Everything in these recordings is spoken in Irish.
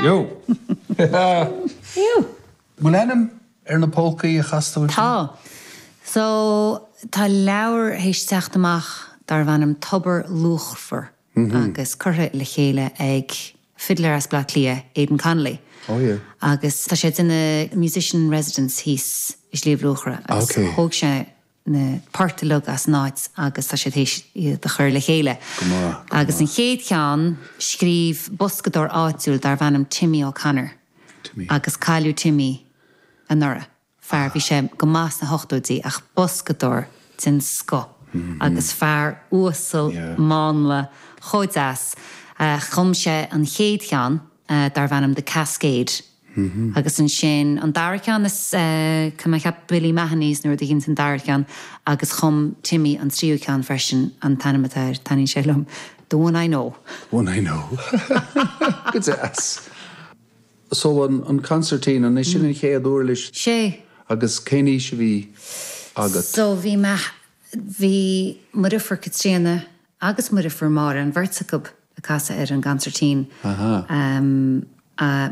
Yo! Yo! Bhfuil ainm ar na polcaí a chas tú ansin? Tá. So, tá leabhar théis teacht amach darbh ainm Tobar Luachmhar agus curtha le chéile ag fiddler as Bleá Cliath, Aidan Connolly. Oh yeah. Agus tá sé ag déanamh musician in residence thíos i Sliabh Luachra agus Okay. thóg sé na poirt uilig as an áit agus tá sé théis iad a chur le chéile. Go maith, go Agus an maith. chéad cheann, scríobh boscadóir áitiúil darbh ainm Timmy O'Connor. Timmy. Agus cailleadh Timmy anuraidh. Fear, bhí sé go maith sna hochtóidí ach boscadóir den scoth agus fear uasal mánla chomh deas. Chum sé an chéad cheann darbh ainm The Cascade agus ansin an dara ceann is tá mé ag ceapadh Billy Mahoney's nó rud éigin an dara ceann agus chum Timmy an tríú ceann freisin, an t-ainm atá air, taitníonn sé liom, The One I Know. The One I Know. Go deas. So an consairtín, an é sin an chéad uirlis? Sé. Agus cén aois a bhí agat? So bhí mé, bhí mo dheirfiúr Caitríona agus mo dheirfiúr Máire, an bheirt acu ag casadh ar an gconsairtín. Aha.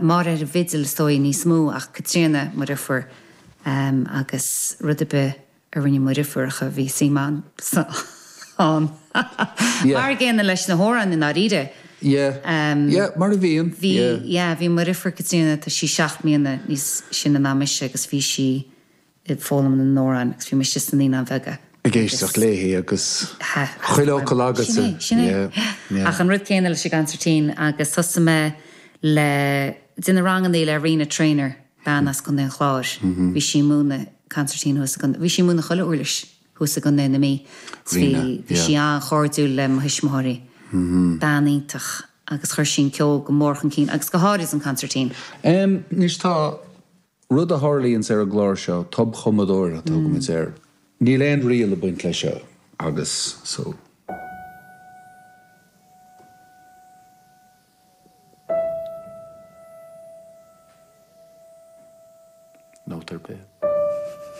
Máire ar an bhfidil is dóigh níos mó ach Caitríona, mo dheirfiúr, agus rud ar bith a rinne mo dheirfiúracha, bhí suim a'msa ann. Mar an gcéanna leis na hamhráin i ndáiríre. Yeah, yeah, mar a bhíonn, Bhí, yeah. yeah, bhí mo dheirfiúr Caitríona, tá sí 7 mbliana níos sine ná mise agus bhí sí ag foghlaim na n-amhrán agus bhí mise sna Naíonáin Bheaga. Ag éisteacht léi agus chuile fhocal agatsa. Sin é, sin é. Yeah, yeah. Ach an rud céanna leis an gconsairtín agus thosaigh mé le, déanamh rangannaí le Rena Trainor, bean as Contae an Chláir. Bhí sí ag múineadh consairtín thuas i gContae, bhí sí ag múineadh chuile uirlis thuas i gContae na Mí. Rena, Bhí sí an-chairdiúil le mo thuismitheoirí. Bean iontach agus chuir sí an ceol go mór chun cinn agus go háirid an consairtín. Anois tá rud a tharlaíonns ar an gclár seo, tobchumadóir a thugaimid air. Níl aon riail ag baint leis seo agus so. Nóta ar bith.